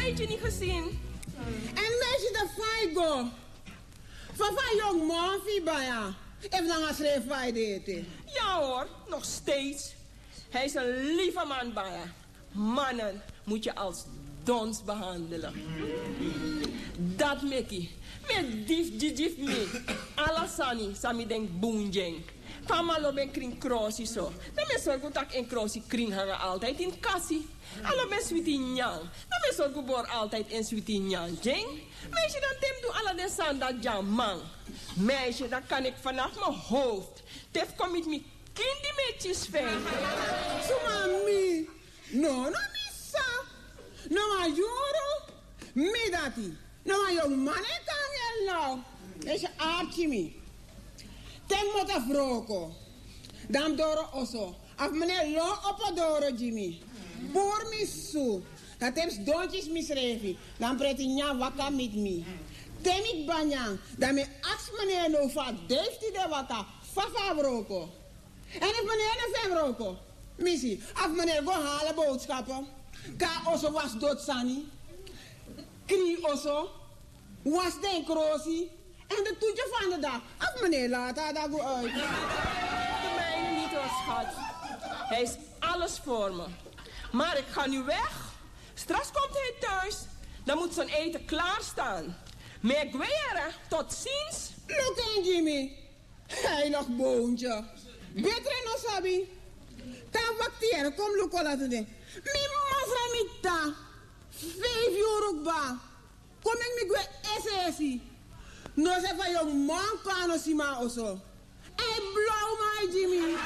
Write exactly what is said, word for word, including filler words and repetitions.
Tijdje niet gezien. En meisje, de fa yu go? Fa fa a yongu man fu yu baya? Efu nanga srefi fa yu de ete? Ja hoor, nog steeds. Hij is een lieve man baya. Mannen moet je als dons behandelen. Dat meki mi e dif didif mi. Ala sani san mi denki bun gi en. Fa a man lobi en krin krosi so, dan mi e sorgu tak' en krosi krin nanga altijd ini kasi. A lobi en switi nyan, dan mi e sorgu bori altijd en switi nyan gi en. Meisje, dan te mi du ala den sani dati gi a man. Meisje, dan kan ik vanaf mijn hoofd te fu kon miti mi kindi mi e kisi fu en. Suma mi? No, no, mi sa. No, wan yuru mi dati. No, wan yongu man e kon nanga en now. Esi arki mi. Te mi moto fu wroko, dan mi doro oso, a fu mi ne lon opo doro gi mi. Puru mi susu. Dan te mi sidon kisi misrefi, dan mi preti nyan waka miti mi. Te mi kba nyan, dan mi e aksi mi ne now fu a dei fu tide waka, fa fu a wroko. Èn efu mi no e no fu en wroko, mi si, a fu mi no e go hala bowtskapu, kon na oso wasi doti sani, krin oso, wasi den krosi, èn de tutu fu a dati, a fu mi no e lati a dati go uit. De mijne niet, hoor, schat. Hij is alles voor me. Maar ik ga nu weg. Straks komt hij thuis. Dan moet zijn eten klaarstaan. Mi e gwe yere, tot ziens. Luku en gi mi. Heilig boontje. Betre no sabi. Tan wakti yere, kon mi luku lati de. Mi masra, mi tata. Feifi yuru kba. Kon meki mi gwe esi esi. No se fa yongu man kon a no si mi na oso. Ai, blow mi, ai, gi mi.